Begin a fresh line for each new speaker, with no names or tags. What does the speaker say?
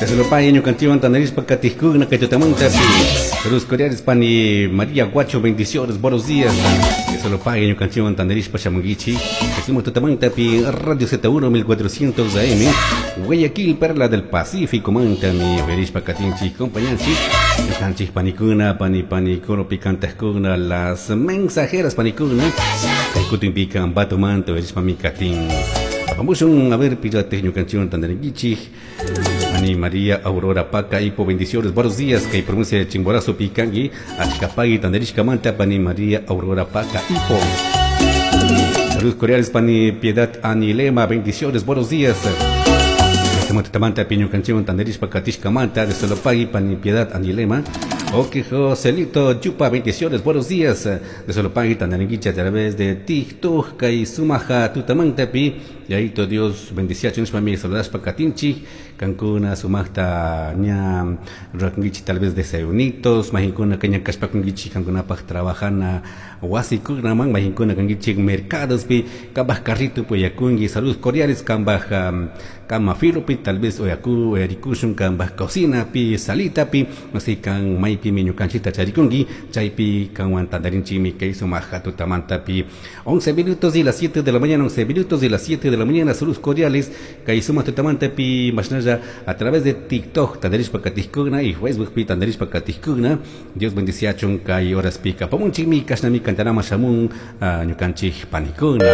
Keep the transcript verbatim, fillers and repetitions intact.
Dios lo pague, ñukanchikwan tandarishpa katijkuna kay tutamanta Saludos cordiales pani María Guacho, bendiciones, buenos días. Dios lo pague, ñukanchikwan tandarishpa shamunkichik. Decimos tutamanta pi Radio Z uno mil cuatrocientos A M, Guayaquil, Perla del Pacífico, manta mi verishpa katinchik, compañanchik. Ñukanchik panikuna, pani pani koropi kantajkuna, las mensajeras panikuna. Kay kutinpika ambato manta verishpa mi katin. Vamos a ver, pirate ñukanchikwan tandarinkichik. Ani María Aurora Paca, Ipo, bendiciones, buenos días, que pronuncia de Chimborazo Picangui, Achcapagui, Tandarishka Manta, Pani María Aurora Paca, Ipo. Saludos cordiales, Pani Piedad Anilema, bendiciones, buenos días. Tamanta, Piño Canchión, Tandarishpa, Katishka Manta, de Solopagui, Pani Piedad Anilema. Ok, Joselito Yupa, bendiciones, buenos días. De Solopagui, Tandaringuicha, a través de TikTok, Kai Sumaja, Tutamanta, Pi. Y ahí todo Dios bendicia, mi saludas pa Katinchi, Cancuna, Sumajta, ña, Rakunguichi, tal vez desayunitos, Majincuna, Caña, Cashpakunguichi, Cancuna, pa trabajana, Huasicunaman, Majincuna, Canguichi, mercados, pi, Cambaj carrito, Poyacungui, saludos cordiales, Cambaj, Cama Filo, pi, tal vez Oyaku, Oyarikushun, Cambaj cocina, pi, salita, pi, no sé, can, Maipi, Miñucanchita, Charicungui, Chaypi, Canwan, Tandarinchimi, que hizo Maja, Tutamanta, pi, once minutos y las siete de la mañana, once minutos y las siete de la mañana, saludos cordiales, Kaisuma Tutamanta, pi, Mashnaya, a través de TikTok, Tandarishpa Katijkuna, y Facebook, pi, Tandarishpa Katijkuna, Dios bendice a chun, kay horas pica, pamunchimi, kashnami, cantarama, shamun, ñukanchik, panikuna.